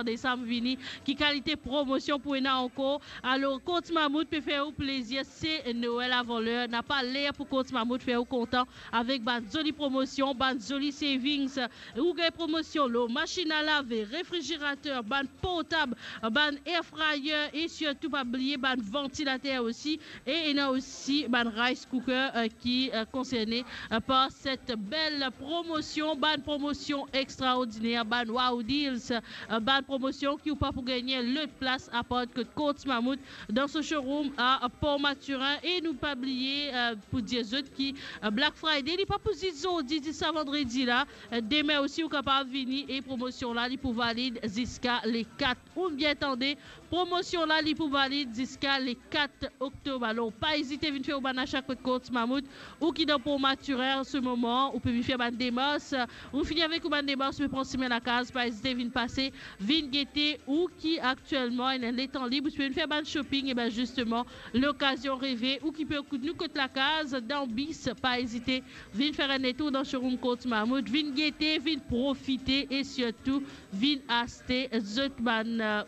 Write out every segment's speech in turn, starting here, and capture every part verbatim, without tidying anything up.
desam vini, ki kalite promosion pou ena ankor. Alor, Courts Mammouth pe fer ou plezir, se Noel avan ler, napa ler pou Courts Mammouth fer ou kontan avek bann zoli promosion, bann zoli savings. Ou gagn promosion lor masinn a lave, refrizerater, bann portab, bann air fryer e sirtou pa bliye bann vantilater osi. E ena osi bann rice cooker, eh, ki, eh, konserne, eh, par set bel promosion, bann promosion extraordiner, bann wow deals, eh, bann promosion ki ou pa pou gagne lot plas apar kot Courts Mammouth dan so showroom a Port Mathurin. E nou pa bliye, eh, pou dir zot ki, eh, Black Friday, li pa pou zis zordi, zis sa vandredi la. Eh, demin osi, ou kapav vini e promosion la, li pou valid ziska le kat. Ou bien tande, promosion la, li pou valid ziska le kat oktob. Alor, pa ezite vinn fer ou bann asa kot Courts Mammouth, ou ki dan Port Mathurin an se moman, ou pe vinn fer bann demars. Ou fini avek ou bann demars, ou pe pran simin lakaz, pa ezite vinn pase, vinn gete, ou ki aktielman ena letan lib, ou pe vinn fer bann shopping, e ben zisteman, lokazion reve, ou ki pe ekout nou kot lakaz, dan bis, pa ezite vinn fer enn letour dan showroom Courts Mammouth, vinn gete, vinn profite e sirtou vinn aste zot bann, eh,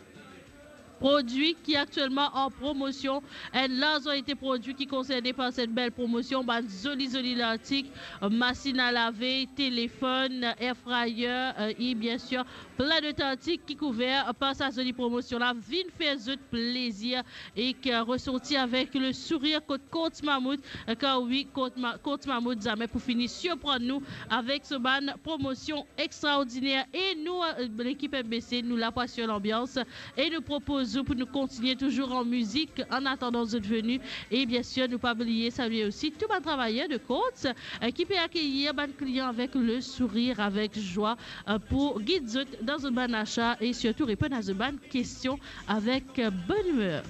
prodwi ki aktielman an promosion. Enn larz kalite prodwi ki konserne par set bel promosion, bann zoli, zoli lartik, eh, masinn a lave, telefonn, air fryer, eh, e bien sir, plin de tartik ki kouver par sa zoli promosion la. Vinn fer zot plezir e ki resorti avek le sourir kot Courts Mammouth, kar wi, Courts Ma-, Courts Mammouth zame pou fini sirprann nou avek so bann promosion extraordiner. E nou, eh, lekip M B C, nou la pou asir lanbians e nou propoz ou pou nou kontinie touzour an mizik an atandan zot veni. E bien sir, nou pa bliye salye osi tou bann travayer de Courts, eh, ki pe akeyir bann klian avek le sourir, avek zwa, eh, pou gid zot dan zot bann asa e sirtou reponn a zot bann kestion avek, eh, bonn imer.